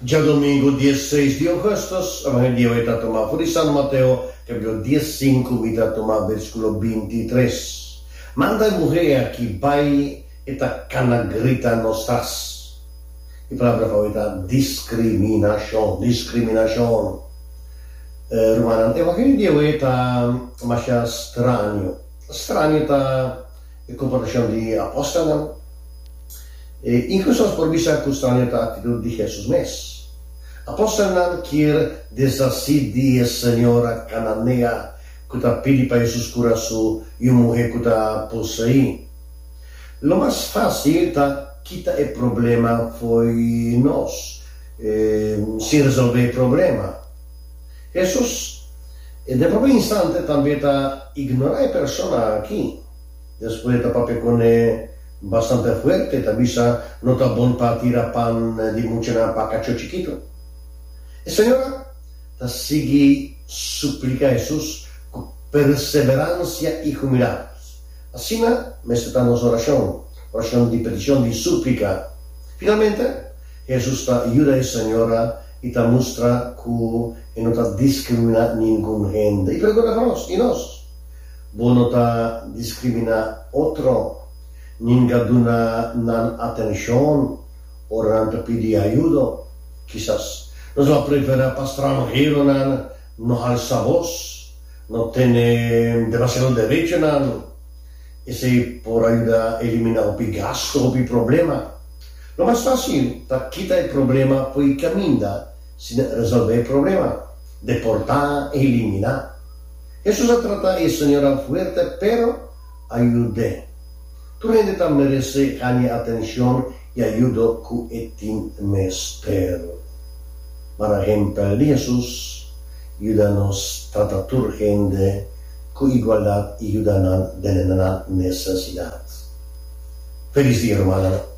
Djadomingu diesseis di ougùstùs, Evangelio di awe ta tuma for di San Mateo, kapítulo diesinku, mi ta tuma versíkulo bintitres. Manda e muhé aki bai, e ta kana grita nos tras. E palabra pa awe ta diskriminashon, diskriminashon. Rumannan, Evangelio di awe ta masha straño. Straño ta e komportashon di e apòstelnan. E inkluso nos por bisa ku straño ta aktitut di Hesus mes. Apòstelnan kier deshasí di e señora kananea ku ta pidi pa Hesus kura su yu muhé ku ta poseí. Lo mas fásil ta kita e problema fo'i nos, sin resolvé e problema. Hesus, den propio instante, tambe ta ignorá e persona akí. Despues e ta papia kuné bastante fuerte, ta bisa, No ta bon pa tira pan di muchanan pa kachó chikitu. E señora ta sigui supliká Hesus ku perseveransia i humildat. Asina mester ta nos orashon, orashon di petishon, di súplika. Finalmente, Hesus ta yuda e señora i ta mustra ku e no ta diskriminá ningun hende. I pregunta pa nos, I nos? Bo no ta diskriminá otro, ninga duna nan atenshon ora nan ta pidi ayudo. Kisas nos lo a preferá pa stranheronan no halsa bos, no tene demasiado derechonan. Esei por a yuda eliminá hopi gasto, hopi problema. Lo mas fásil ta kita e problema fo'i kaminda sin resolvé e problema, deportá, eliminá. Hesus a trata e señora fuerte pero a yud'é. Tur hende ta meresé haña atencion i ayudo cu e tin mester. Mara ehempel di Hesus yuda nos trata tur hende cu igualdad i yuda nan den nan necesidad. Felis dia, rumannan!